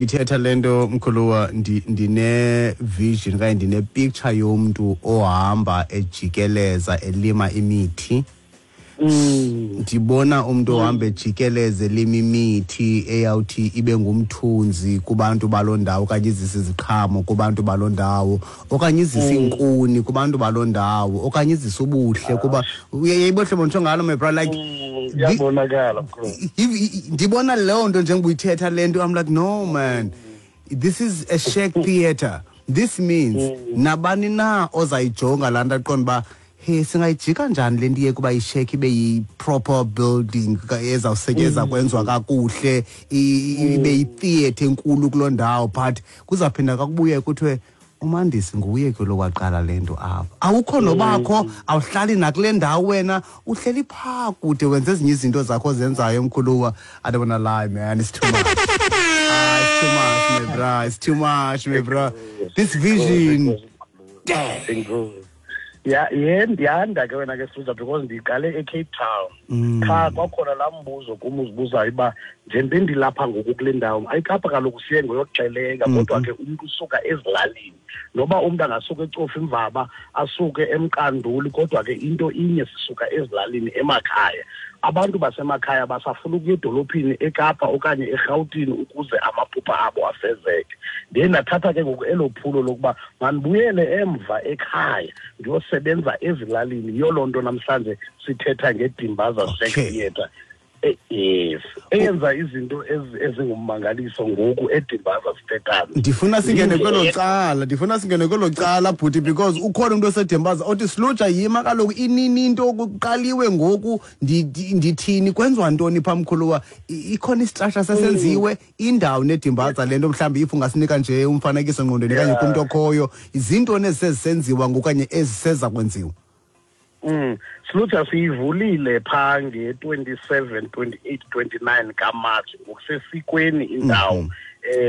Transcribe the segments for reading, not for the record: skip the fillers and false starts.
Ithetha le nto mkhuluwa, ndine-vision okanye ndine-picture yomntu ohamba ejikeleza elima imithi. Ndibona umntu ohamba ejikeleza elima imithi eyawuthi ibe ngumthunzi kubantu baloo ndawo, okanye izise iziqhamo kubantu baloo ndawo, okanye izise iinkuni kubantu baloo ndawo, okanye izise ubuhle kuba uyayibona hlobo nditsho ngalo, my brother, like Iyabonakala, bro. Ndibona leyo nto njengoba uyithetha le nto. I'm like, no man, this is a shack theatre. This means nabani na ozayijonga laa nto aqonda uba, hey, singayijika njani le nto iye kuba ishack ibe yi-proper building ezawusetyenzwa kwenziwa kakuhle, ibe yitheatre enkulu kuloo ndawo. But kuzawuphinda kakubuye kuthiwe uMandisi nguye ke lo waqala le nto apha. Awukho nobakho, awuhlali nakule ndawo wena, uhleli phaa kude, wenza ezinye izinto zakho ozenzayo, mkhuluwa. I don't wanna lie, man, it's too much. Ah, it's too much, my bro. It's too much, my bro. This vision. Damn. Ya, yanda ke wena ke Suza, because ndiqale eCape Town. Qha kwakhona laa mbuzo kum uzibuzayo uba njengoba ndilapha ngoku kule ndawo, ayiKapa kaloku siye ngoyokuxelenga, kodwa ke umntu usuka ezilalini. Noba umntu angasuka eCofimvaba, asuke eMqanduli, kodwa ke into inye, sisuka ezilalini emakhaya. Abantu basemakhaya basafuna ukuya edolophini eKapa okanye eRhawutini ukuze amaphupha abo afezeke. Ndiye ndathatha ke ngoku elo phulo lokuba mandibuyele emva ekhaya ndiyosebenza ezilalini. Yiyo loo nto namhlanje sithetha ngeDimbaza Shack Theatre. Yes, eyenza izinto ezingummangaliso ngoku eDimbaza sithethayo. Ndifuna singene kwelo cala, ndifuna singene kwelo cala, bhuti, because ukhona umntu oseDimbaza othi, Sluja, yima kaloku, inini into kuqaliwe ngoku, ndithini, kwenziwa ntoni phaa, mkhuluwa? Ikhona istructure sesenziwe, indawo neDimbaza le nto, mhlawumbi if ungasinika nje umfanekiso ngqondweni okanye kumntu okhoyo, zintoni ezisezisenziwa ngoku okanye eziseza kwenziwa? Sluja, siyivulile phaa nge-27, 28, 29 kaMatshi ngokusesikweni indawo.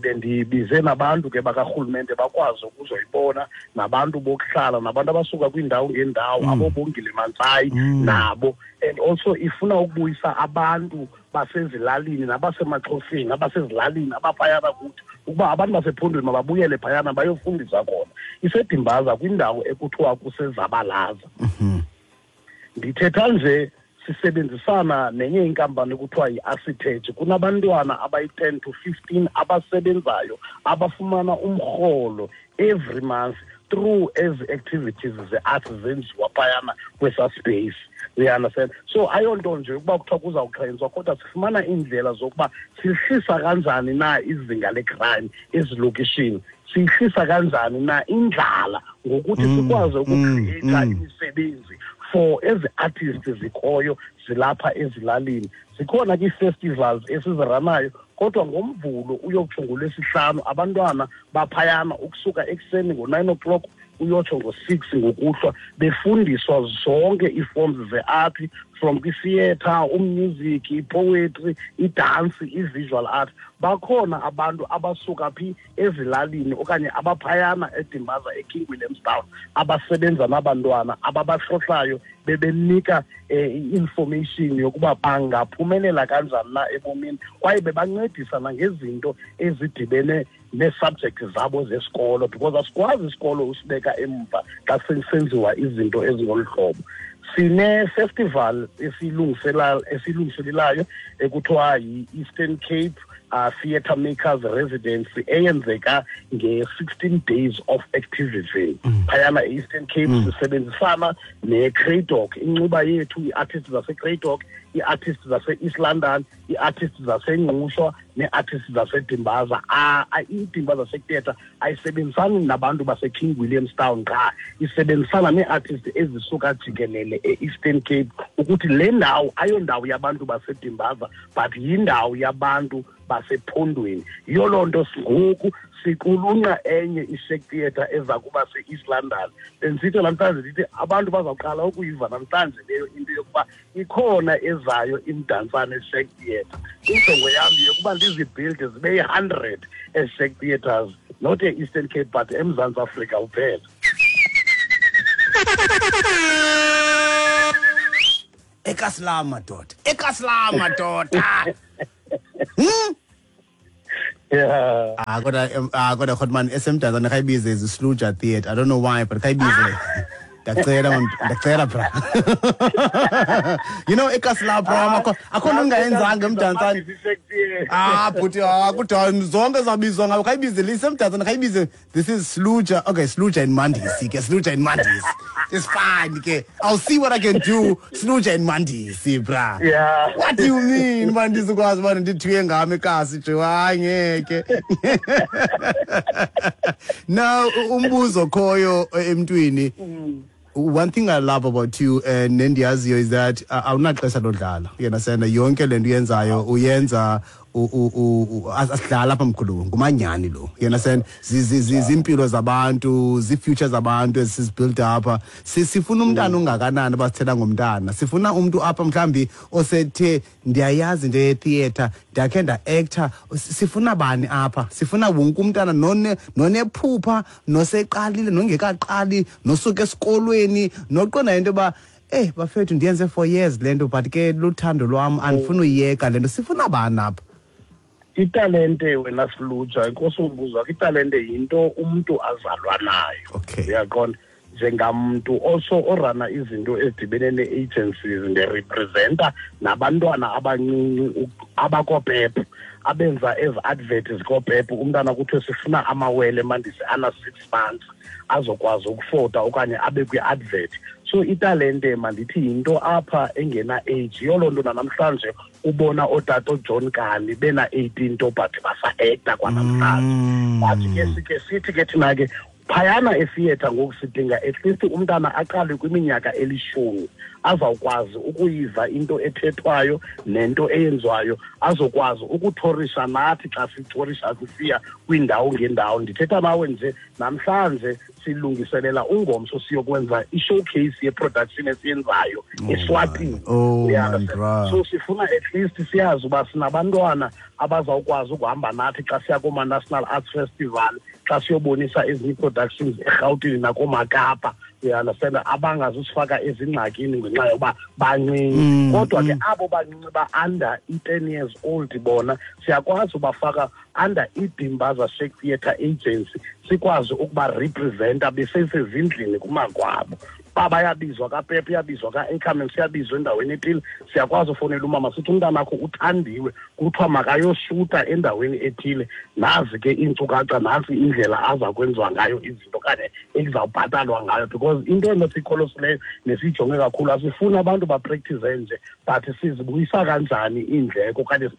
Bendibize nabantu ke bakarhulumente bakwazi ukuzoyibona, nabantu bokuhlala, nabantu abasuka kwiindawo ngeendawo, aboBongile Mantsai nabo. And also ifuna ukubuyisa abantu basezilalini nabasemaXhoseni, abasezilalini abaphayana kuthi, ukuba abantu basephondweni mababuyele phayana bayofundisa khona. IseDimbaza kwindawo ekuthiwa kuseZabalaza. Ndithetha nje sisebenzisana nenye inkampani ekuthiwa yi-Asitech. Kunabantwana abayi-10 to 15 abasebenzayo, abafumana umrholo every month through ezi activities ze-arts zenziwa phayana kwesa space. You understand? So ayonto nje ukuba kuthiwa kuzawuxhentswa, kodwa sifumana iindlela zokuba sihlisa kanjani na izinga le-crime ezilokishini, siyihlisa kanjani na indlala ngokuthi sikwazi ukucreata imisebenzi for ezi artists zikhoyo zilapha ezilalini. Zikhona ke ii-festivals esiziranayo, kodwa ngoMvulo uyokutsho ngoLwesihlanu abantwana baphayana ukusuka ekuseni ngo-9 o'clock uyotsho ngo-6 ngokuhlwa, befundiswa zonke ii-forms ze-art, from kwi-theatre, umusic, i-poetry, idance, i-visual art. Bakhona abantu abasuka phi ezilalini okanye abaphayana eDimbaza eKing Williamstown abasebenza nabantwana ababahlohlayo, bebenika i-information yokuba bangaphumelela kanjani na ebomini, kwaye bebancedisa nangezinto ezidibene nee-subject zabo zesikolo, because asikwazi isikolo usibeka emva xa senziwa izinto ezingolu hlobo. Sine-festival esiyilungiselelayo ekuthiwa yi-Eastern Cape Theatre Makers Residency, eyenzeka nge-16 days of activism phayana e-Eastern Cape. Sisebenzisana ne-Cradock, incuba yethu, ii-artists zase-Cradock, ii-artists zase-East London, ii-artists zaseNgqushwa nee-artists zaseDimbaza. IDimbaza Shack Theatre ayisebenzisani nabantu base-King Williamstown qha, isebenzisana nee-artists ezisuka jikelele e-Eastern Cape, ukuthi le ndawo ayondawo yabantu baseDimbaza, but yindawo yabantu basephondweni. Yiyo loo nto ngoku siqulunqa enye i-shack theatre eza kuba se-East London. Bendisithi namhlanje, ndithi abantu bazawuqala ukuyiva namhlanje leyo into yokuba ikhona ezayo iMdantsane Shack Theatre. Injongo yam yeyokuba ndizibuilde zibe yi-100 ezi-shack theatres, not e-Eastern Cape but eMzantsi Afrika uphela. Ekasilam madoda, ekasilam madoda. Yeah. Ah, kodwa kodwa Khotman, esemdantsane khayibize iSluja Theatre. I don't know why, but khayibize. Ndiyacela man, ndiyacela bra. Ekasi lapho akho nto ungayenzanga emdantsane. Ah, bhuti, kudala zonke zabizwa ngabo. Khayibize lisemdantsane, khayibize this is Sluja. Okay, Sluja and Mandisi ke, Sluja and Mandisi. It's fine ke. I'll see what I can do. Sluja and Mandisi, bra. Yeah. What do you mean, Mandisi, ukwazi ubana ndithuye ngam ekasi nje? Hayi, ngeke. Now, umbuzo khoyo emntwini. One thing I love about you and nendiyaziyo is that awunaxesha lodlala. You understand? Yonke le nto uyenzayo uyenza asidlala apha mkhulu, ngumanyani lo. You understand? Zimpilo zabantu, zi-future zabantu esisibuild apha. Sifuna umntana ongakanani abasithela ngomntana. Sifuna umntu apha mhlambi osethe ndiyayazi into ye-theatre, ndiyakhe nda-actor. Sifuna bani apha? Sifuna wonke umntana nonephupha, noseqalile, nongekaqali, nosuka esikolweni, noqonda into yoba bafethu ndiyenze for years le nto, but ke luthando lwam, andifuni uyiyeka le nto. Sifuna bani apha? Italente wena Siluja, inkosi umbuzo wakho, italente yinto umntu azalwa nayo. Uyaqonda? Njengamntu also orana izinto ezidibene nee-agencies, ndirepresenta nabantwana abancinci abakoPep, abenza ezi advert zikoPep. Umntana kuthiwe sifuna amawele Mandisi ana 6 months azokwazi ukufota okanye abe kwi-advert. So italente mandithi yinto apha engena age. Yiyo loo nto nanamhlanje ubona ootata oJohn Kani bena 18 to but basa-acta kwanamhlanje. But ke sike sithi ke thina ke phayana etheatre ngoku sidinga at least umntana aqale kwiminyaka 10 azawukwazi ukuyiva into ethethwayo nento eyenziwayo, azokwazi ukuthorisha nathi xa sithorisha sisiya kwiindawo ngeendawo. Ndithetha nawe nje namhlanje silungiselela ungomso siyokwenza i-showcase ye-production esiyenzayo eSwatini. Oh, Yeah, my God. So sifuna at least siyazi uba sinabantwana abazawukwazi ukuhamba nathi xa siya kooma-National Arts Festival, xa siyobonisa ezinye ii-productions eRhawutini nakoomaKapa. You understand? Abangazusifaka ezingxakini ngenxa yoba bancinci. Kodwa ke abo bancinci ba-under i-10 years old bona siyakwazi ubafaka under iDimbaza Shack Theatre Agency, sikwazi ukuba representa besesezindlini kumakwabo. Ba bayabizwa kaPep, uyabizwa ka-Ackerman, siyabizwa endaweni ethile, siyakwazi ufonela umama sithi umntanakho uthandiwe, kuthiwa makayoshuta endaweni ethile, nazi ke iinkcukacha, nantsi indlela aza kwenziwa ngayo izinto okanye ekuzawubhatalwa ngayo. Because into enosiyikholosileyo nesiyijonge kakhulu, asifuni abantu bapractice nje, but sizibuyisa kanjani iindleko okanye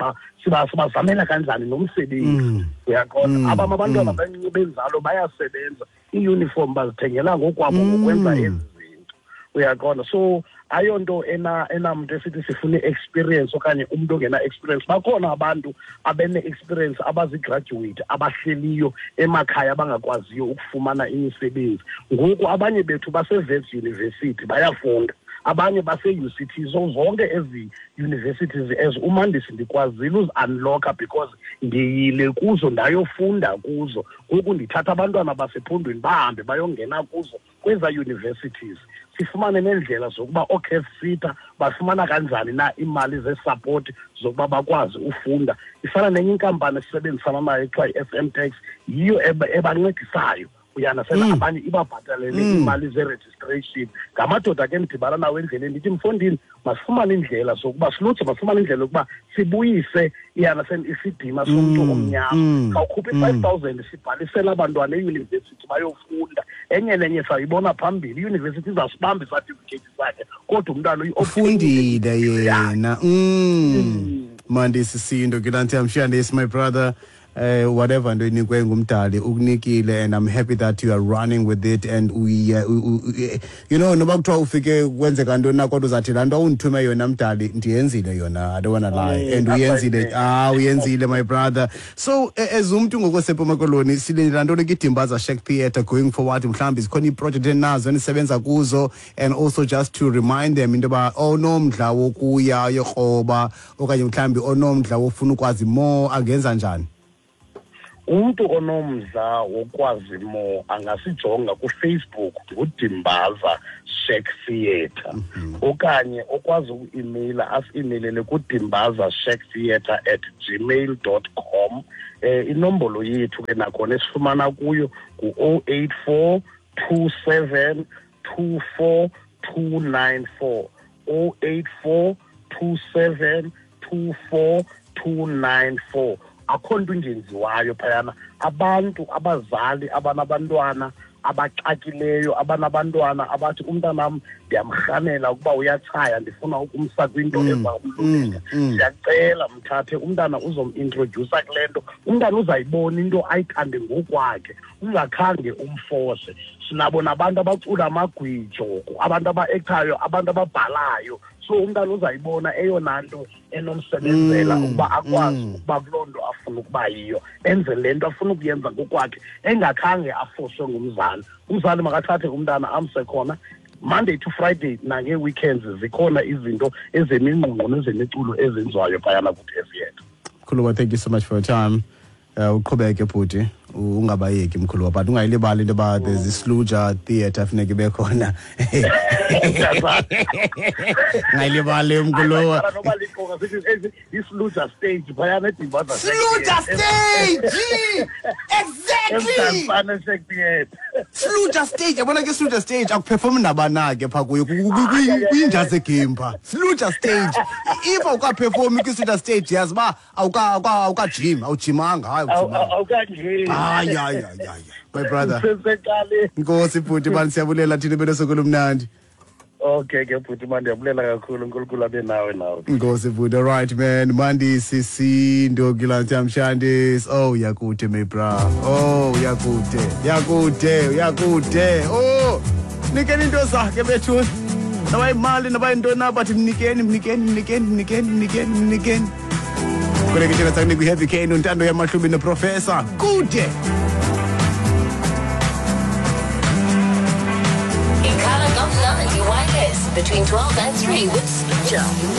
sibazamela kanjani nomsebenzi. Uyaqonda? Abam abantwana bancinci benzalo bayasebenza, iiyunifomu bazithengela ngokwabo ngokwenza ezi zinto. Uyaqonda? So ayonto enamntu esithi sifune experience okanye umntu ongena experience. Bakhona abantu abene-experience, abazigraduate, abahleliyo emakhaya abangakwaziyo ukufumana imisebenzi. Ngoku abanye bethu base-Wits University bayafunda, abanye base-U C T. So zonke ezi universities as uMandisi ndikwazile uzi-unlocka because ndiyile kuzo ndayofunda kuzo. Ngoku ndithatha abantwana basephondweni bahambe bayongena kuzo kweza universities, sifumane neendlela zokuba ooCAFSITA bafumana kanjani na iimali zesupport zokuba bakwazi ufunda. Ifana nenye inkampani esisebenzisana nayo ekuthiwa yi-S M Tax, yiyo ebancedisayo. Uyanasena abanye ibabhatalele iimali ze-registration. Ngamadoda ke ndidibana nawo endleleni, ndithi mfondini masifumane indlela zokuba siluthe, masifumane indlela yokuba sibuyise iyanasena isidima somntu omnyama. Khawukhuphe i-5,000 sibhalisele abantwana eyunivesithi bayofunda. Enye nenye sayibona phambili, iyunivesithi izawusibamba isatifiketi sakhe, kodwa umntana Ufundile yena. Mandisi Sindo, Gilanti, I'm sure this, my brother. Whatever nto inikwe ngumdali ukunikile, and I'm happy that you are running with it, and we noba kuthiwa ufike kwenzeka ntoni na, kodwa uzathi laa nto undithume yona mdali ndiyenzile yona, I don't want to lie. And uyenzile, uyenzile my brother. So as umntu ngokwasempuma Koloni, silindela ntoni kwiDimbaza Shack Theatre going forward? Mhlawumbi zikhona iiprojekthi enazo enisebenza kuzo, and also just to remind them into yoba onomdla wokuya yokroba okanye mhlawumbi onomdla wofuna ukwazi more angenza njani? Umntu onomdla wokwazi more angasijonga kuFacebook nguDimbaza Shack Theatre, okanye okwazi uku-emaila asi-emailele kudimbazashacktheatre@gmail.com. Inombolo yethu ke nakhona esifumana kuyo ngu-084 27 24 294, 084 27 24 294. Akho nto ingenziwayo phayana. Abantu, abazali abanabantwana abaxakileyo, abanabantwana abathi umntanam ndiyamrhanela ukuba uyatshaya, ndifuna ukumsa kwinto ezamlungela, siyacela mthathe umntana, uzomintrodyusa kule nto, umntana uzayibona into ayithande ngokwakhe, ungakhange umfose. Sinabo nabantu abacula amagwijo, abantu aba-ekthayo, abantu ababhalayo. So umntana uzayibona eyona nto enomsebenzela ukuba akwazi ukuba kuloo nto afuna ukuba yiyo, enze le nto afuna ukuyenza ngokwakhe, engakhange afoswe ngumzali. Umzali makathathe umntana amse khona Monday to Friday, nangee-weekends zikhona izinto ezemingqungqo nezemiculo ezenziwayo phayana kuthi etheatre. Mkhuluwa, thank you so much for your time. Uqhubeke bhuti, ungabayeki mkhuluwa, but ungayilibali into yoba there's iSluja Theatre funeka ibe khona. Ungayilibali mkhuluwa. Noba liqonga sithi iSluja Stage phayana eDimbaza. Sluja Stage! Exactly! Emdantsane Shack Theatre. Sluja Stage, yabona ke Sluja Stage akuperformi nabana ke phaa kuyo, kwinja zegame phaa. Sluja Stage. If awukaperformi kwiSluja Stage, yazi uba awukajim, awujimanga, hayi awujimanga. Awukangeni. Hayi, hayi, hayi, hayi. My brother. Sesecaleni. Nkosi bhuti, mani siyabulela thina benosuku olumnandi. Okay ke bhuti, mani ndiyabulela kakhulu, uNkulunkulu abe nawe nawe. Nkosi bhuti, all right man. Mandisi Sindo Gilantamshandis. Oh, yakude my bra. Oh, yakude. Yakude, yakude. Oh, nikeni into zakhe bethu. Noba imali, noba yintoni na, but mnikeni, mnikeni, mnikeni, mnikeni, mnikeni, mnikeni. Kule ke thina sakunika iHeavy K noNtando Yamahlubi noProfessor. Kude. Ikhala Gomnandi Wireless between 12 and 3 with Sluja.